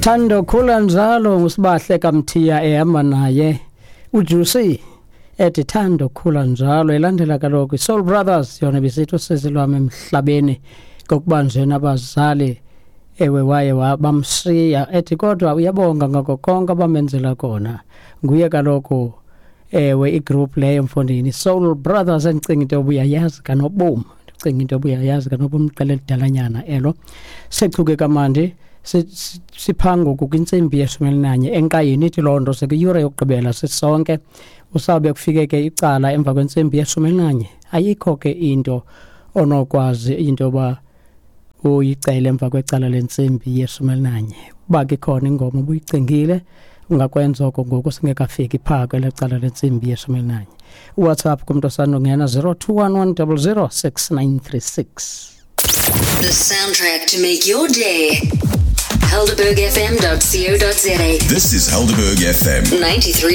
Thando khula njalo ngusibahle kaMthiya ehamba naye uJuicy ethi Thando khula njalo, elandela kaloku iSoul Brothers yona bisithi usizi lwam emhlabeni kokuba nje nabazali ewe waye bamshiya, ethi kodwa uyabonga ngako konke abamenzela kona. Nguye kaloku ewe igroup leyo mfondini, Soul Brothers, endicinga into yoba uyayazi kanobom, ndicinga into yoba uyayazi kanobom, iqela elidalanyana elo. Sechuke kamandi siphangoku kwintsimbi yeshumi elinanye enkqayini, ithi loo nto sekwiyure yokugqibela sisonke. Usawube kufike ke icala emva kwentsimbi yeshumi elinanye, ayikho ke into onokwazi into yoba uyicele emva kwecala lentsimbi yeshumi elinanye. Uba ke ikhona ingoma ubuyicingile, ungakwenza oko ngoku singekafiki phaa kwela cala lentsimbi yeshumi elinanye. UWhatsApp kumntu osandongena, 021 100 6936. The soundtrack to make your day. HelderbergFM.co.za. This is Helderberg FM. 93.